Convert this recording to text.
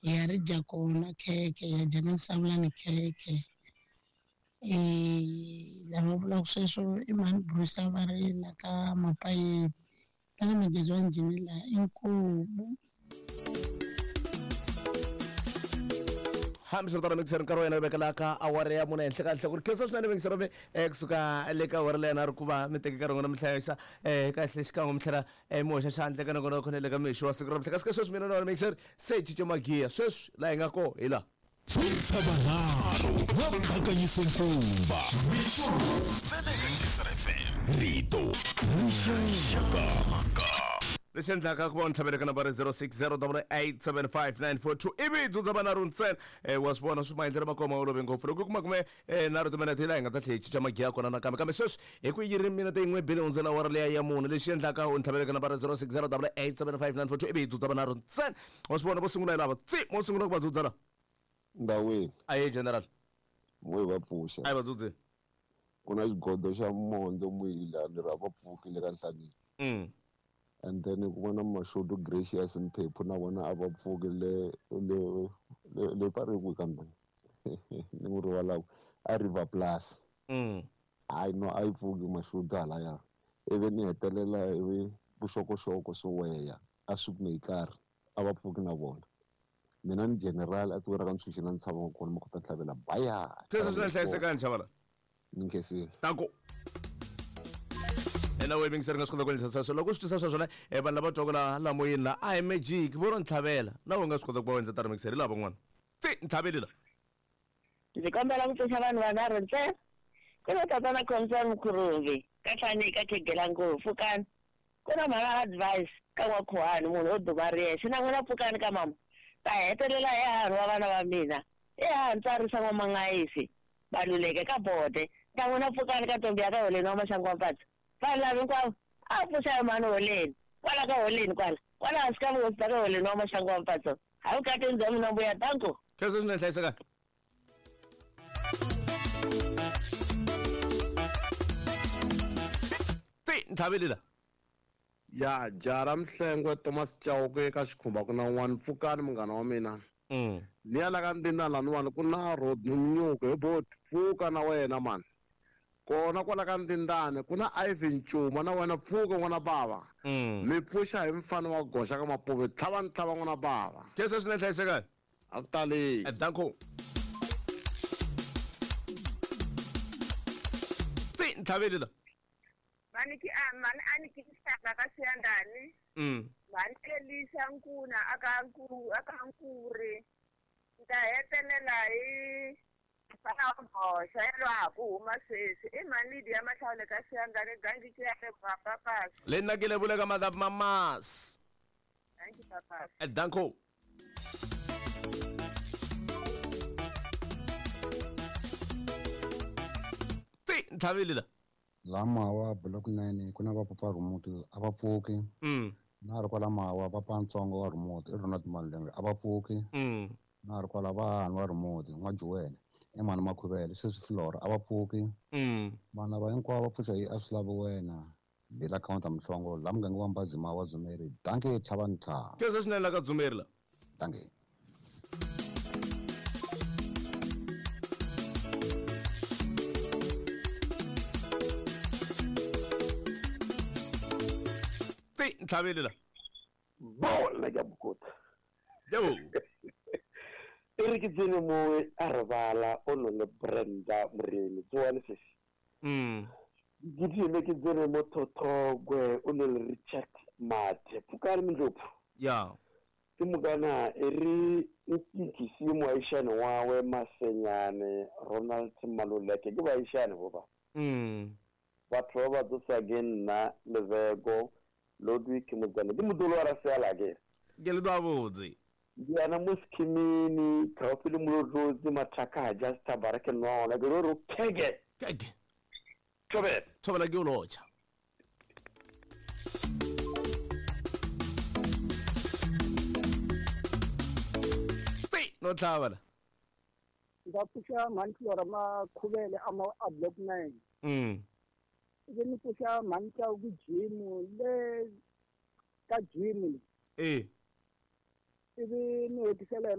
Hi ya ri dya kona khekhe, hi ya dya na Nsawulani khekhe. Lava vulaka sweswo i mhani Bruce va ri la ka Mapayeni, la ka Magezi wa Njhini laha, inkomu. Hambiswiritano mixer nkarhi wa yena wu vekela ka awara ya mune henhla ka nhloko ri khensa swinene mixer mi kusuka le ka awara leyi na ri ku va mi teke nkarhi n'wina mi hlayisa kahle xikan'we mi tlhela mi hoxa xandla eka nongonoko na le ka mixo wa siku ra namuntlha kasi ka sweswi mina na wena mixer se hi cince magiya sweswi laha hi nga koho hi laha. Tshintshavanharhu va bakanyise nkumba. Mixo lowu ntsena eka Jisr FM. Rito rixaka. Lexi endlaka ku va u ni tlhavela eka nambara 0608875942 ivi hi dzudza vanharhu ntsena. Wa swi vona swi maendlelo ma kona ma olove ngopfu. Loko u kuma kume nharhu timinete hi laha hi nga ta tlhela hi cinca magiya ya kona nakambe. Kambe sweswi hi ku yi ri minete yin'we bile hundzela awara liya ya mune. Lexi endlaka u ni tlhavela eka nambara 0608875942 ivi hi dzudza vanharhu ntsena. Wa swi vona vo sungula hi lava. Tsi! Mo sungula ku va dzudza la. Ndaweni. Ahee General. Mo hi va pfuxa. A hi va dzudzeni. Ku na xigodo xa mondzo muhila ni ri a va pfuki le ka Nhlaniki. And then ku va na Mashudu Gracious Mphephu na vona a va pfuki le le le le va ri kwihi kambe ni n'wi rivalaka a River Plus. Hayi no a yi pfuki Mashudu halaya. Ivi ni hetelela ivi vuxokoxoko Soweya a Soekmekaar a va pfuki na vona. Mina ni general a tikweni ra ka Ntshuxi na ni tshamaka kona Makota Ntlhavela baya. Khensa swinene hlayisekani Chavala. Ni nkhensile. Danko. Ena we mingiseri nga swi kota ku endlisa sweswo loko u swi twisa sweswo ne vanhu lava twaka la la moyeni la a hi magic vo ro ntlhavela na we nga swi kota ku va u endla tano mingiseri hi lava van'wana tsi ntlhaveli la. Ndzi kombela ku pfuxa vanhu vanharhu ntsena. Ku na tatana Khomisani Mkhurumbi, ka Hlanika, Khegela ngopfu, pfukani. Ku na mhana Advice ka N'wakhuhani, munhu wo duma ri yexe. Na n'wina pfukani ka mama. Ta hetelela hi hahani wa vana va mina. I hahani Tsarisa N'wamangayisi, Baluleke ka Bode. Na n'wina pfukani ka ntombi ya ka Holeni wa Maxangu wa Mpatsa. Vanhu lava hinkwavo a va pfuxa hi mhani Holeni. Kwala ka Holeni kwala. Kwala hansi ka vuhosi bya ka Holeni wa Maxangu wa Mpatsa. Hayi vukatini bya mina mbuya danko. Khensa swinene hlayisekani. Tsi ntlhaveli la. Ya jara Mhlengwe Thomas Chauke eka xikhumba ku na un'wana pfukani munghana wa mina. Ni ya la ka Ndindana laniwani ku na Rodney Mnyuku he boti pfuka na wena mani. Kona kwala ka Ndindane ku na Ivan Cuma na wena pfuka n'wana bava. Mi pfuxa hi mfana wa goxa ka Mapuve tlhava ni tlhava n'wana bava. Khensa swinene hlayisekani. A ku tali. Danko. Tsi ntlhaveli la. Mhani ki a mhani a ni kinsaka ka Siyandhani. Mhani Elisa Nkuna aka Nku aka Nkuri. Ni ta hetelela hi mfana wa Boxa yalowa a ha ku huma sweswi. I mhani Lydia Mahlawule ka Siyandhani Gangi ki ya le Papas. Le nakile vule ka madam mamas. Thank you Papas. Danko. Tsi ntlhaveli la. La Mawa block 9 ku na va papa Rhumuti a va pfuki. Na ri kwala Mawa papa Ntsongo wa Rhumuti i Ronald Malembe a va pfuki. Na ri kwala va wa Rhumuti N'wajuwele i mhani Makhuvele sesi Flora a va pfuki. Vanhu lava hinkwavo va pfuxa hi a swi lavi wena. Bila counter Mhlongo la muganga wa Mbazima wa Dzumeri. Dankie tlhava ntlha. Khensa swinene la ka Dzumeri la. Dankie. Tsi ntlhaveli la. Bola ka bokota. Yebo. E re ke tsene mo a re bala o no le Brenda Moremi tsoane sesi. Ke tsene ke tsene mo Thothogwe o no le Richard Mathe pfukani Mindlopfu. Ya. Ke mokana e re nkikisi moaishane wawe Masenyane Ronald Maluleke ke baaishane bo ba. Batho ba ba tsosa ke nna Lebeko Ludwig Motsane ke modolo wa Raseala ke. Ke le tswabotse. Ndiana mo Skhimini gaufi le Molotlozi Mathaka just tabara ke nona ke re kege. Kege. Thobela. Thobela ke o lotšha. Tsi no tlhabela. Nka pfuxa mhani Flora Makhuvele a ma a block 9. Ivi ni pfuxa mhani Chauke Jim le ka Jim. Ivi ni hetisela hi